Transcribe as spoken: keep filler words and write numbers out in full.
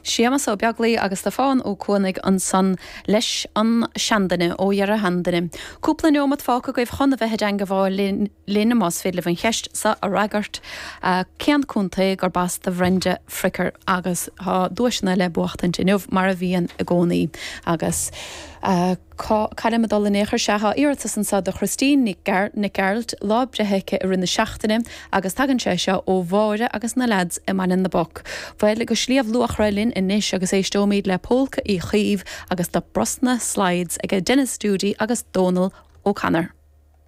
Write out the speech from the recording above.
Séamus Ó Beaglaoich agus Stiofán Ó Cuanaigh ansan leis an seanduine ó dheireadh sheanduine. Cúpla neomat fágtha agaibh chun a bheith i dteagmháil linn linn más féidir libh an cheist seo a fhreagairt cén contae gurb as do Bhrenda Fricker agus tá duaiseanna le buachtaint inniu mar a bhíonn i gcónaí agus uh, Caithfidh mé dul in échar se iarratas anseo do Christine Nic Gearailt lá breithe i rith na seachtaine agus tagann sé seo ó Mháire agus na lads i mBaile na bPoc. Bhuel go Sliabh Luachra linn anois agus éisteoimid le Polca Uí Chaoimh agus the Brosna Slides ag Dennis Doody agus Donal O'Connor.